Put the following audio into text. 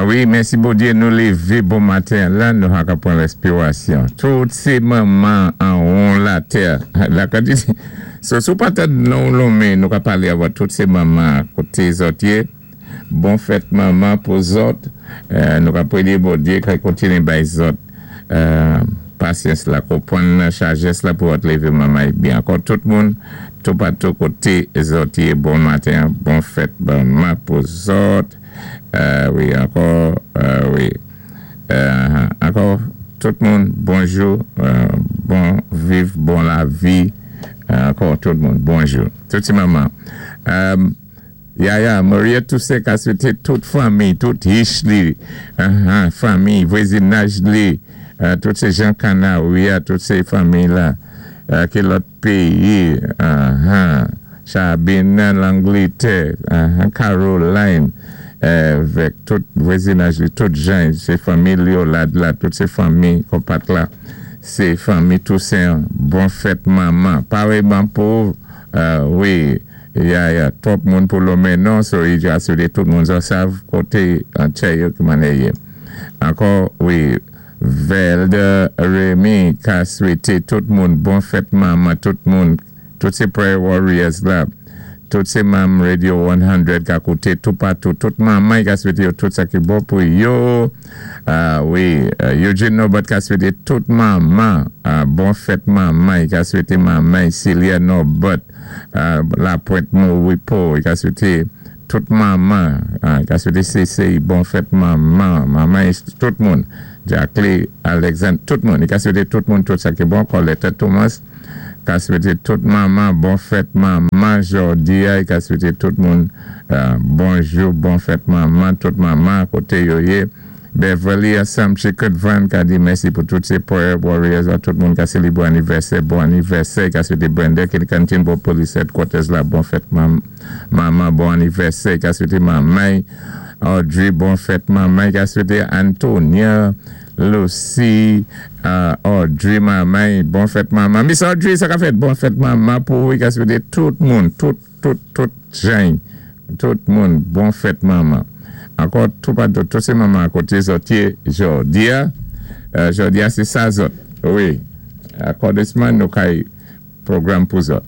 Wi, mèsi Bondyé, nou lévé bon maten la, nou ka pwan réspiwasyon. Tout sé manman an won latè. La kantité. So, si ou pa tann non lonmen, nou ka palé about tout sé manman koté zòt yé. Bon fèt manman pou zòt. Nou ka priyé Bondyé ka kontiné bay zòt pasyans la, konpwann la, sajès la pou zòt lévé manman byen. Ankò tout moun toupatou koté zòt yé, bon maten, bon fèt manman pou zòt. Wi, ankò, wi. Ankò tout moun, bonjou, bon viv, bon lavi. Ankò tout moun, bonjou. Tout ti manman. Yaya, Maria Toussaint ka swété tout fanmi, tout hich li, fanmi, vwazinaj li, tout sé jan Kanawia, tout sé fanmi la, ki lòt péyi, Chabine nan Langlétè, Caroline, vèk tout vwazinaj li, tout jan, sé fanmi Liolad la, tout sé fanmi Konpat la, sé fanmi Toussaint, bon fèt manman, parèyman pou, wi. Ya, twòp moun pou lonmen non, so i ka swété tout moun zòt sav koté an tchè yo ki mannyè yé. Ankò, wi, Velde Remy ka swété tout moun bon fèt manman tout moun, tout sé Prayer Warriors la, tout sé manm Radio 100 ka kouté toupatou, tout manman i ka swété yo tout sa ki bon pou yo. Wi, Eugene Norbert ka swété tout manman bon fèt manman, i ka swété manman Celia Norbert La Pointe Moripo, i ka swété tout manman, i ka swété CCI bon fèt manman, manman tout moun, Jacqueline Alexandre, tout moun, i ka swété tout moun tout sa ki bon, Colette Thomas ka swété tout manman bon fèt manman jòdi a, i ka swété tout moun bonjou, bon fèt manman, tout manman koté yo yé. Beverly ansanm Chicken Van ka di mèsi pou tout sé Prayer Warriors la, tout moun ka sélébré anivèsè, bon anivèsè, i ka swété Brenda ki kantin bò Police Headquarters la, bon fèt manman, bon anivèsè, i ka swété manman Audrey, bon fèt manman, i ka swété Antonia, Lucy, Audrey manman, bon fèt manman, Miss Audrey, sa ka fèt, bon fèt manman pou ou, i ka swété tout moun, tout, tout, tout jan, tout moun, bon fèt manman. Ankò toupatou, tout sé manman koté zòt yé jòdi a, jòdi a sé sa zòt, wi, akòdisman nou kay pwogram pou zòt.